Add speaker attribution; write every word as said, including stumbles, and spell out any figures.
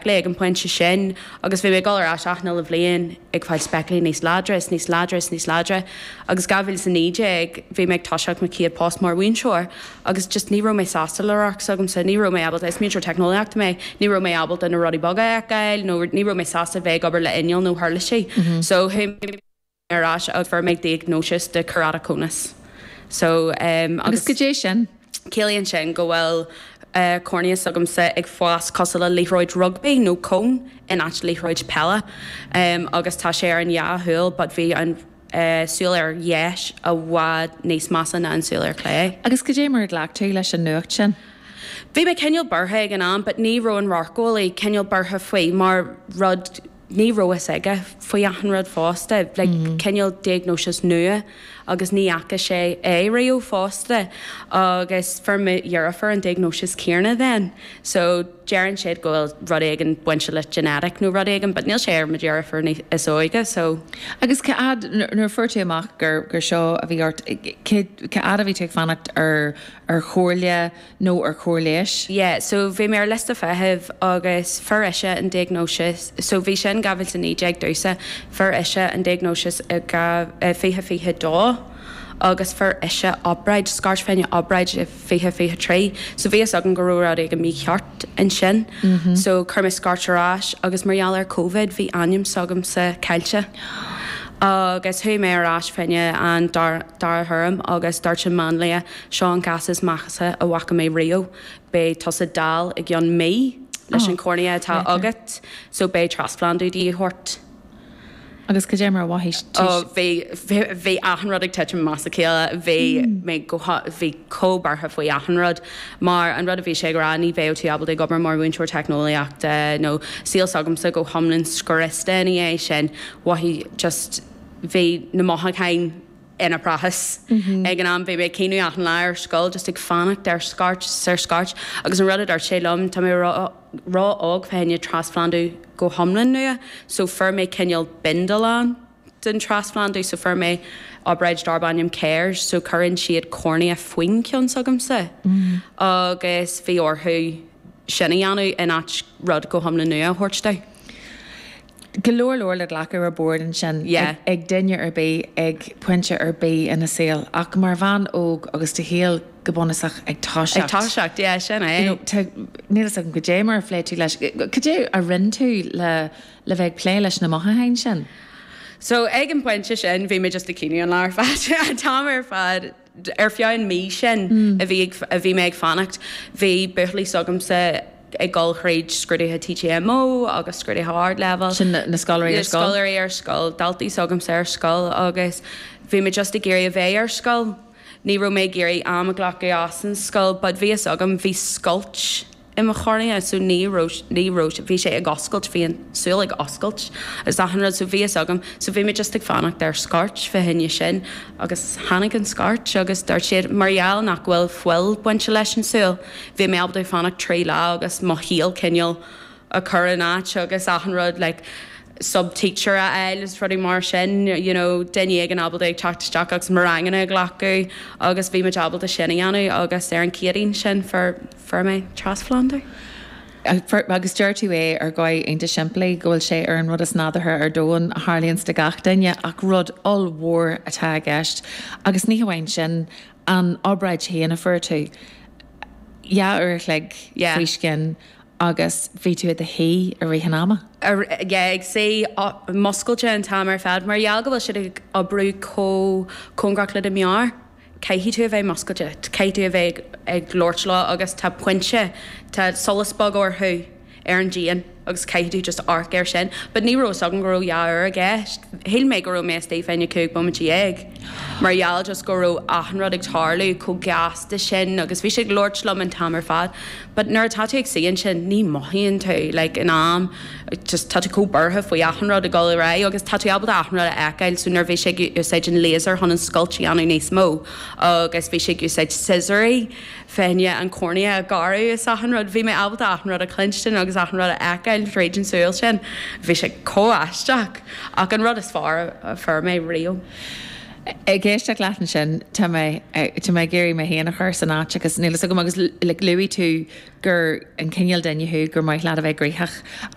Speaker 1: Ag an pointe sin agus bhí mé ag dul ar ais achan uile bhliain ag fáil speiclí níos láidre is níos láidre is níos láidre agus dhá mhíle is a naoi déag bhí mé ag toiseacht mo chéad post mar mhúinteoir agus just ní raibh mé sásta le radharc s'agamsa, ní raibh mé ábalta, is múinteoir teicneolaíochta mé, ní raibh mé ábalta na rudaí beaga a fheiceáil nó ní raibh mé sásta bheith ag obair le inneall nó huirlisí. So chuaigh mé ar ais agus fuair mé diagnósis de keratoconus. So um,
Speaker 2: Agus goidé sin?
Speaker 1: Ciallaíonn sin go bhfuil uh, cornea s'agamsa ag fás cosúil le liathróid rugby nó cón in áit liathróid peile um, agus tá sé ar an dhá shúil, but bhí an uh, súil ar dheis i bhfad níos measa ná an súil ar clé.
Speaker 2: Agus goidé mar a ghlac tú leis an nuacht sin?
Speaker 1: Bhí mé cineál buartha ag an am, but ní raibh an radharceolaí cineál buartha faoi mar rud ní raibh fhios aige faoi achan rud fosta, like, mm -hmm. cineál diagnósis nua agus ní fhaca sé é riamh fosta agus fuair mo dheirfiúr an diagnósis céanna then. So deireann siad go bhfuil rud éigin bainte le genetic nó rud éigin, but níl sé ar mo dheirfiúr is óige, so.
Speaker 2: Agus cá fhad nuair a fuair tú amach gur gur seo a bhí ort cá fhad a bhí tú ag fanacht ar ar chomhairle nó ar chóir leighis?
Speaker 1: Yeah, so bhí mé ar liosta feithimh agus fuair ise an diagnósis, so bhí sin dhá mhíle naoi déag domhsa, fuair ise an diagnósis i fiche fiche dó agus fuair ise obráid, scairt fá choinne obráid i fiche fiche trí, so bhí fhios agam go raibh rud éigin mícheart ansin. Mm -hmm. So chuir mé scairt ar ais agus mar gheall ar Covid bhí ainm s'agamsa caillte. Agus chuaigh mé ar ais fá choinne an dara thuairim agus dúirt an máinlia seo an cás is measa a bhfaca mé riamh. Beidh tusa dall i gceann mí leis an cornea atá agat, so beidh trasphlandú de dhíth ort.
Speaker 2: Agus goidé mar a mhothaigh
Speaker 1: tú? Bhí bhí achan rud ag titim as a chéile, bhí mé go bhí chomh buartha faoi achan rud, mar an rud a bhí sé ag rá ní bheadh tú ábalta ag obair mar mhúinteoir teicneolaíochta nó saol s'agamsa go hiomlán scriosta ina dhiaidh sin, mhothaigh just bhí na mothúcháin ina bpraiseach. Ag an am bhí mé ag caoineadh achan lá ar scoil just ag fanacht ar scairt ar scairt agus an rud a dúirt sé liom tá mé ró-óg fá choinne trasphlandú go hiomlán nua, so fuair mé cineál bindealán den trasphlandú, so fuair mé obráid darb ainm CAIRS, so cuireann siad cornea faoin ceann s'agamsa agus bhí orthu sin a dhéanamh in áit rud go hiomlán nua a thabhairt domh.
Speaker 2: Go leor leor le glacadh ar bord ansin ag duine ar bith ag pointe ar bith ina saol, ach mar bhean óg agus do shaol go bunúsach ag toiseacht.
Speaker 1: Ag toiseacht, yeah, sin é.
Speaker 2: You know, níl fhios agam goidé mar a phléigh tú leis. Goidé a rinne tú le le bheith ag plé leis na mothúcháin sin?
Speaker 1: So ag an bpointe sin bhí mé just ag caoineadh an lá ar fad, an t-am ar fad ar feadh an mí sin a bhí a bhí mé ag fanacht, bhí buachaillí s'agamsa ag dul thríd scrúduithe TTMO agus scrúduithe ardleibhéil.
Speaker 2: Sin na scoláirí ar scoil?
Speaker 1: Na scoláirí ar scoil, daltaí s'agamsa ar scoil agus bhí mé just ag iarraidh a bheith ar scoil. Ní raibh mé ag iarraidh am a ghlacadh as an scoil, but bhí fhios agam, bhí scoilt i mo chornea so ní raibh, ní raibh, bhí sé ag oscailt, bhí an súil ag oscailt agus achan rud so bhí fhios agam, so bhí mé just ag fanacht ar scairt fá choinne sin agus tháinig an scairt agus dúirt siad mar gheall nach bhfuil fuil bainte leis an súil, bhí mé ábalta fanacht trí lá agus mo shaol cineál a chur in áit agus achan rud like sub teacher a fháil is rudaí mar sin, you know, duine éigin ábalta ag teacht isteach agus mo ranganna a ghlacadh agus bhí muid ábalta sin a dhéanamh agus ar an Chéadaoin sin fuair fuair mé trasphlandú.
Speaker 2: Agus deir tú é ar dhóigh iontach simplí go bhfuil sé ar an rud is nádúrtha ar domhan a tharlaíonns do gach duine ach rud ollmhór atá i gceist agus ní hamháin sin an obráid féin a fuair tú dhá uair a chloig faoi scian agus bhí tú i do shuí i rith an ama.
Speaker 1: Yeah, ag suí muscailte an t-am ar fad mar gheall go bhfuil siad ag oibriú chomh cóngarach le do mheabhair, caithfidh tú a bheith muscailte, caithfidh tú a bheith ag labhairt leo agus tá pointe, tá solas beag orthu ar an díon agus caithfidh tú just amharc air sin. But ní raibh fhios agam go raibh dhá uair i gceist. Shíl mé go raibh mé istigh fá choinne cúig bomaite dhéag mar gheall just go raibh achan rud ag tarlú chomh gasta sin agus bhí sé ag labhairt liom an t-am ar fad. But nuair atá tú ag suí ansin ní mothaíonn tú like in am just tá tú chomh buartha faoi achan rud ag dul ar aghaidh agus tá tú ábalta achan rud a fheiceáil so nuair bhí sé ag úsáid an laser chun an scoilt a dhéanamh níos mó agus bhí sé ag úsáid scissorí fá choinne an cornea a ghearradh is achan rud. Bhí mé ábalta achan rud a chluinstin agus achan rud a fheiceáil tríd an súil sin. Bhí sé chomh aisteach ach an rud is fearr a fuair mé riamh.
Speaker 2: Ag éisteacht leat ansin tá mé tá mé ag iarraidh mé féin a chur san áit agus níl a fhios agam agus like, luaigh tú gur an cineál duine thú gur maith leat a bheith gnoitheach.